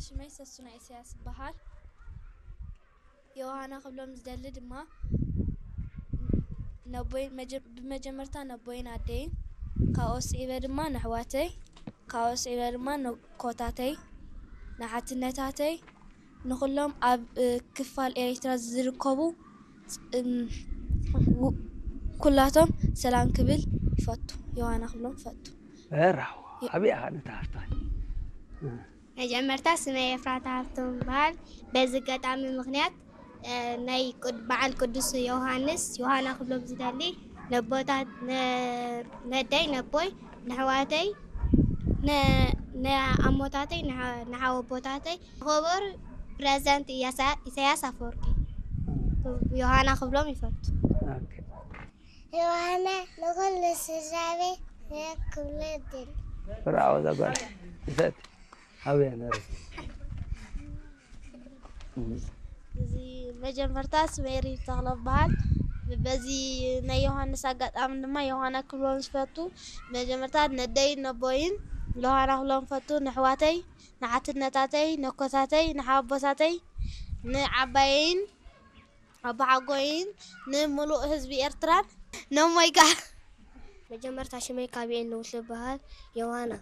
ሽመይ ሰሱና ኢሳያስ ይበሃል። ዮሃና ክብሎም ዝደሊ ድማ ነቦይ መጀ- ብመጀመርታ ነቦይን ኣደይን፣ ካብኡ ስዒበ ድማ ነሕዋተይ፣ ካብኡ ስዒበ ድማ ነኮታተይ፣ ንሓትነታተይ፣ ንኹሎም ኣብ እ፣ ክፋል ኤርትራ ዝርከቡ እ፣ ው- ኩላቶም ሰላም ክብል ይፈቱ። ዮሃና ክብሎም ይፈቱ። በራው ኣበይ ኣኻ ነታ ሃፍታ መጀመርታ ስመይ ኤፍራታ ሃብቶም ይበሃል። በዚ ኣጋጣሚ ምኽንያት እ፣ ናይ ቅድ- በዓል ቅዱስ ዮሃንስ ዮሃና ክብሎም ዝደሊ ነቦታት ነ- ነደይ ነቦይ ነሕዋተይ ነ- ነኣሞታተይ ንሓ- ንሓወቦታተይ ክቡር ፕሬዝዳንት ኢያሳ- ኢሳያስ ኣፈወርቂ ዮሃና ክብሎም ይፈቱ። ኦኬ። ዮሃና ንኹሉ ስድራቤት ክብሎ ይደሊ። ብራው ዘጓል ይፈት ኣበይ ነረ እዚ መጀመርታ ስመይ ሪብ ተኽለ በሃል። በዚ ናይ ዮሃንስ ኣጋጣሚ ድማ ዮሃና ክብሎም ዝፈቱ። መጀመርታ ነደይን ነቦይን ዮሃና ክብሎም ፈቱ። ንሕዋተይ፣ ንሓትነታተይ፣ ነኮታተይ፣ ንሓቦታተይ፣ ንዓባየይን ኣቦሓጎይን፣ ንምሉእ ህዝቢ ኤርትራን፣ ነሞይ ከኣ። መጀመርታ ሽመይ ካቢኤን ንውት ዝበሃል ዮሃና